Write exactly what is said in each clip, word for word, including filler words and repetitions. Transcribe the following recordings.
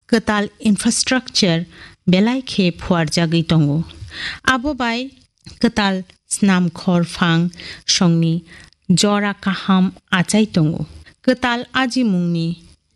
kwtal infrastructure belai khe phuarjagwi tongo. Abo bai kwtal snamkhor phang songni jora kaham achai tongo. Kwtal ajimungni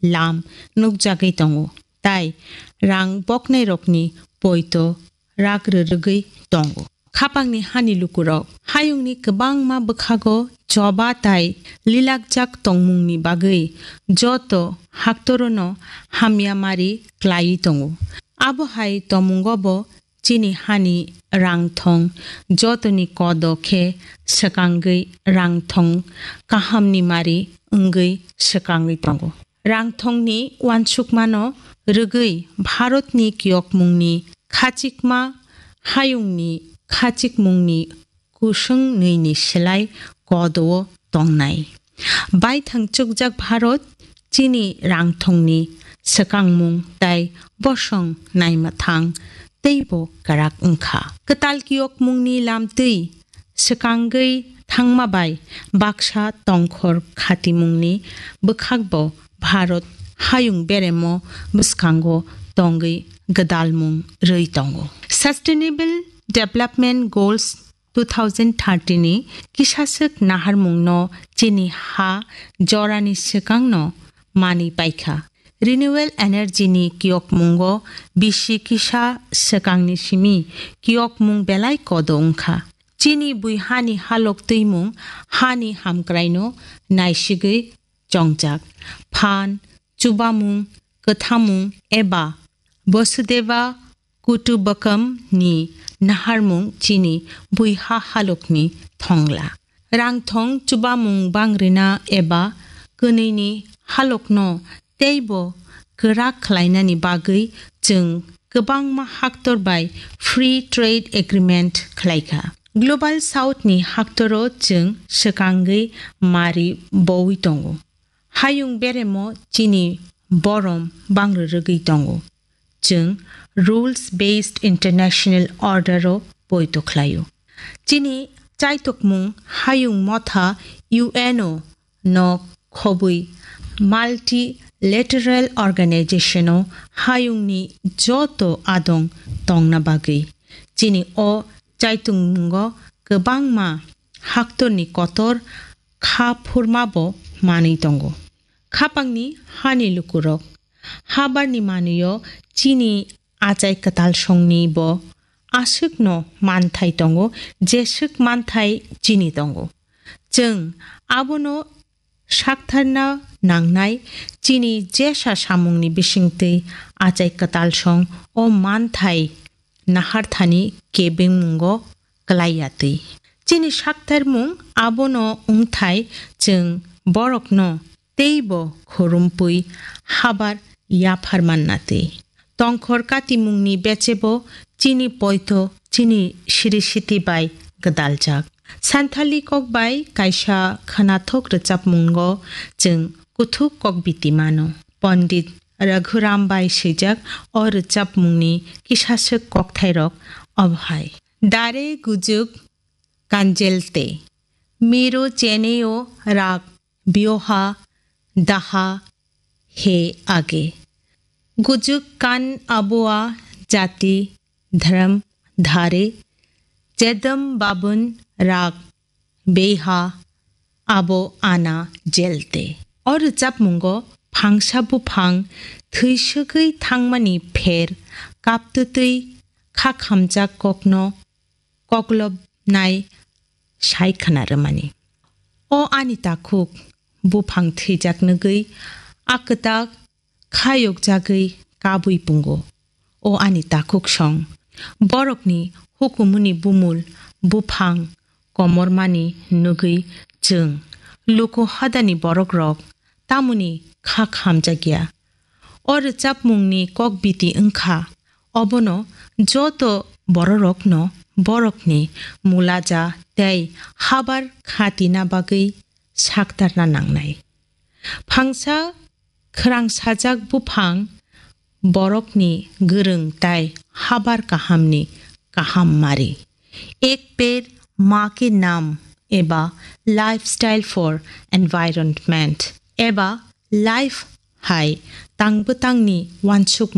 lam nukjagwi tongo, tai rang boknairokni poito rak rwrwgwi tongo. Khapangni hani lukurok hayungni kwbangma bwkhago choba tai lilakjak tongmungni bagwi joto haktorono hamya mari klaiwi tongo. Abo hai tomungo bo chini hani rangthong jotoni kodo khe swkangwi rangthong kahamni mari wngwi swkangwi tongo. Rangthongni uansukmano rwgwi Bharatni kiyokmungni khachikma hayungni khachikmungni kusung nwini slai kodo-o tongnai. Baithang chukjak Bharat chini rangthongni swkangmung tai bosong naimathang teibo kwrak wngkha. Kwtal kiyokmungni lamtwi swkangwi thangma bai baksa tongkhor khatimungni bwkhakbo Bharat hayung beremo bwskango tongwi gwdalmung rwi tongo. Sustainable Development Goals two thousand thirty ni kisaswk naharmungno chini ha jorani swkangno manwi paikha. Renewable energy ni kiyokmungo bisi kisa swkangni simi kiyokmung belai kodo wngkha. Chini bui hani halok twimung hani hamkraino naisigwi chongjak. Phan, chubamung, kwthamung eba Vasudeva Kutumbakam ni naharmung chini buiha halokni thongla. Rangthong chubamung bangrina eba kwnwini halokno teibo kwrak khlainani bagwi chwng kwbangma haktor bai Free Trade Agreement khlaikha. Global South ni haktoro chwng swkangwi mari bowi tongo. Hayung beremo chini borom bangrwrwgwi tongo. Chwng rules based international order o poito khlaio. Chini chaitokmung hayung motha U N O no khobwi multilateral organization o hayungni joto adong tongna bagwi. Chini o chaitokmungo kwbangma haktorni kotor kha phurmabo manwi tongo. Khapangni hani lukurok. Habarni manwio chini achai kwtal songni bo aswkno manthai tongo, jeswk manthai chini tongo. Chwng abono saktharna nangnai chini jesa samungni bisingtwi achai kwtal song o manthai naharthani kebengmungo kwlai ya twi. Chini saktarmung abono wngthai chwng borokno teibo khorompui habar yaphar manna twi. Tongkhor katimungni bechebo chini poito chini siri siti bai gwdaljak. Santhali kok bai kaisa khwnathok rwchapmungo chwng kuthuk kok biti mano. Pondit Raghuram bai swijak o rwchapmungni kisaswk kokthairok obo hai. Dare gujuk kanjelte, miro cheneo rak bioha daha he age. Gujuk kan aboa jati dharam dhare, jedam babun rak beiha abo ana jelte. O rwchapmungo phangsa buphang thwiswgwi thangmani pher kaptwtwi kha khamjak kokno koklopnai sai khna rwmani. O ani takhuk, buphang thwijak nugwi a kwtak khayokjagwi kabwi pungo. O ani takhuk song, borokni hukumuni bumul buphang komormani nugwi chwng luku hadani borokrok tamoni kha khamjakya. O rwchapmungni kok biti wngkha, obono joto bororokno borokni mulaja tei habar khatina bagwi saktarna nangnai. Phangsa khwrangsajak buphang borokni gwrwng tai habar kahamni kaham mari. Ek ped maa ke naam eba Lifestyle for Environment eba Life hai tangbwtangni uansuk